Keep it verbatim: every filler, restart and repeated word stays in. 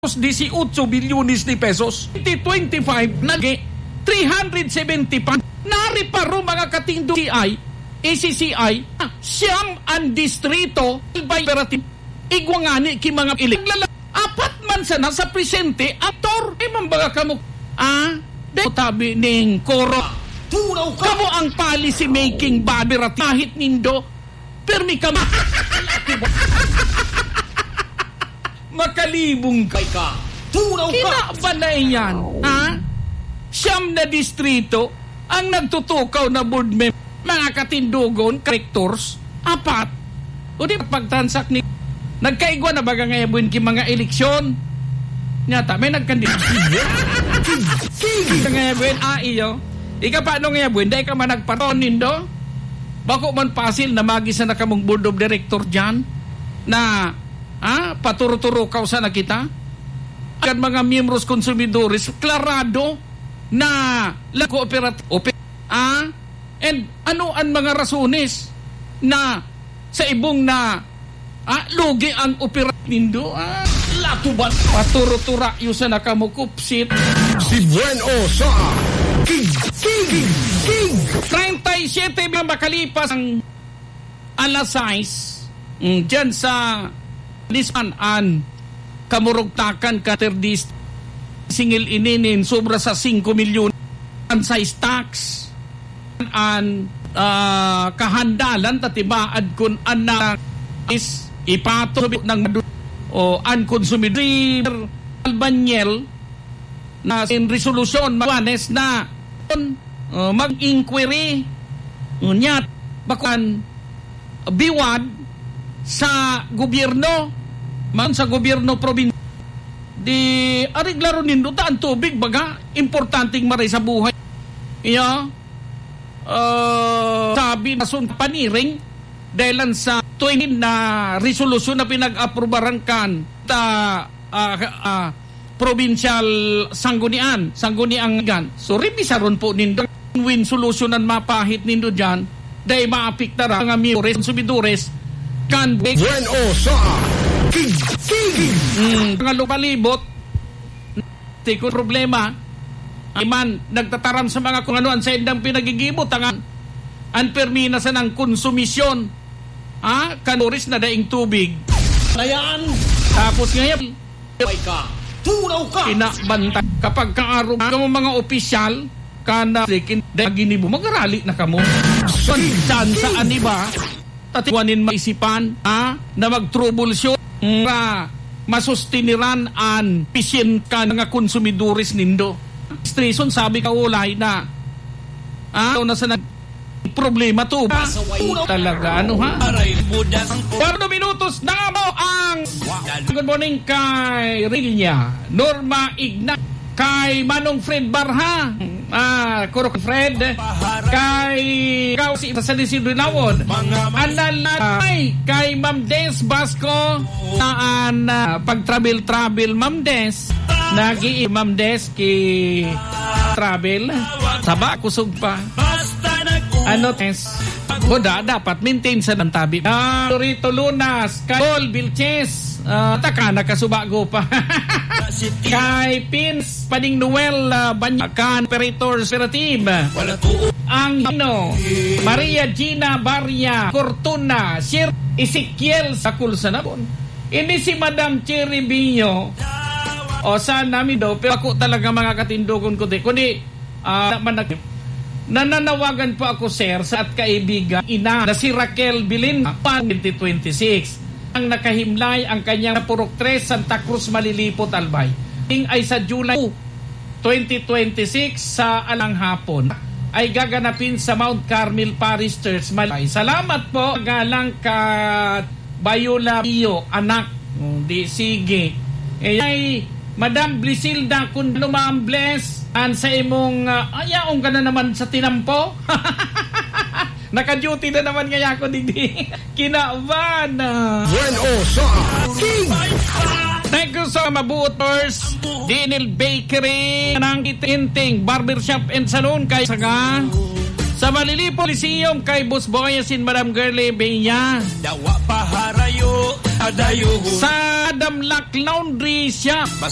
disiotso bilyones de pesos. Twenty twenty-five, nag-, three hundred seventy pa. Nariparo, mga katindo, C I, A C C I, siyam an distrito, by operative. Igwa ngani ki mga ilik. Apat man sana sa presente, aktor. Eh, mambaga kamo, ah, de, tabi ning koro. Turaw ka! Kamo ang policy making body rat-, kahit nindo. Permi ka ma-, makalibong ka. Turaw ka! Kinabanay yan, ha? Siyam na distrito ang nagtutukaw na board member, mga katindogon, directors, apat. O di pagtransak ni, nagkaigwa na baga ngayabon ki mga eleksyon? Nyata, may nagkandida. Ngayabon, ah, iyo. Ika pa, ano ngayabon? Dahil ka man nagpaton nindo? Bako man pasil na magisa na kamong board of director dyan na, ah, paturo-turo kausa na kita? Kan mga miyembros konsumidores, klarado na la-, kooperat-, ope-, ah, and ano an mga rasones na sa ibong na, ah, lugi ang operat nindo? Ah, latuban. Paturo-turayo sana kamo, kupsit. Si Buen O sa King, King, King. Treinta y siete na makalipas ang alas sais, mm, dyan sa Nisman an kamurugtakan ka terdis, singil ini nin sobra sa singko milyon an sais tax. An, ah, kahandalan ta tibaad kun an na is ipato ng madu-, o an konsumidor. Albanyel na in resolusyon, mawanes na, uh, mag-inquiry, ngunyan, bakuan, biwad sa gobyerno, man sa gobyerno probin-, di, areglaron nindo ta an tubig, baga, importanteng maray sa buhay. Iyo, uh, sabi na sun paniring, dahil lang sa twenty na resolusyon na pinag-aprobaran kan ta, ah, ah, provincial sanggunian, sangguniang gan. So, rebisaron po nindo win solution ang mapahit nindo dyan, dahil maapektar ang mga miyores, konsumidores, kan Buen O sa King, King. Mm, mga lupalibot, tiko problema, ay man, nagtataram sa mga kung ano ang saindang pinagigibo, tangan, ang permina sa nang konsumisyon, ah, kan oris na daing tubig. Ayan. Tapos ngayon, May ka. Turaw ka. Inabantay. Kapag kaarog ka mo mga opisyal, kana, sikin, dahil ginibo, magarali na kamo. San, san sa aniba, tatiwanin maisipan, ha? Na mag-troubleshoot, nga masustiniran an pisyen ka nga konsumidores nindo. Station, sabi ka, ulay na. Ah, na sa nag-, problema to. Talaga, ano, ha? Aray, budas. Kwatro minutos na po ang good morning kay Rilya, Norma Igna, kay Manong Fred Barha, ah, Kurok Fred, kay Kausi sa San Isidro Nawon, Analay, kay Ma'am Des Basco, saan, ah, pag-travel-travel, Ma'am Des, nag-i-, Ma'am Des, ki travel. Saba, kusog pa. Ano, test? Boda, dapat maintain sa nantabi. Ah, Torito Lunas, Carol Vilches, ah, taka, nakasubago pa. Kay Pins, Pading Noel, ah, Banyakan, Operator, Operative. Ang Hino, Maria Gina Baria, Cortuna, Sir Ezekiel, Sakul sa Nabon. Ini si Madam Cherry Bio. O, sana mi do, pero ako talaga, mga katindogon ko, di, kundi, ah, naman nag-, nananawagan po ako, sir, sa at kaibigan, ina, na si Raquel Bilin, twenty twenty-six. Ang nakahimlay ang kanyang Purok Tres, Santa Cruz, Malilipot, Albay. Ing ay sa July twenty twenty-six sa alang hapon ay gaganapin sa Mount Carmel Parish Church, Malay. Salamat po, galang ka Bayola Pio, anak. Oh, di, sige. Eh, ay, Madam Blisilda, kung ano, Ma'am Bless, an sa imong, ah, ayaon ka na naman sa tinampo. Naka-duty na naman ngaya ako, digdi. Kinaban na. Bueno, sa King. Thank you sa Mabuot Tours, Dinil Bakery, Nang Itinting, Barbershop and Salon, kay Saga. Sa Malilipo Coliseum, kay Boss Boy, asin Madam Girlie Benya. Dawa pa harayo. Adayo. Sa Damlak Laundry Shop.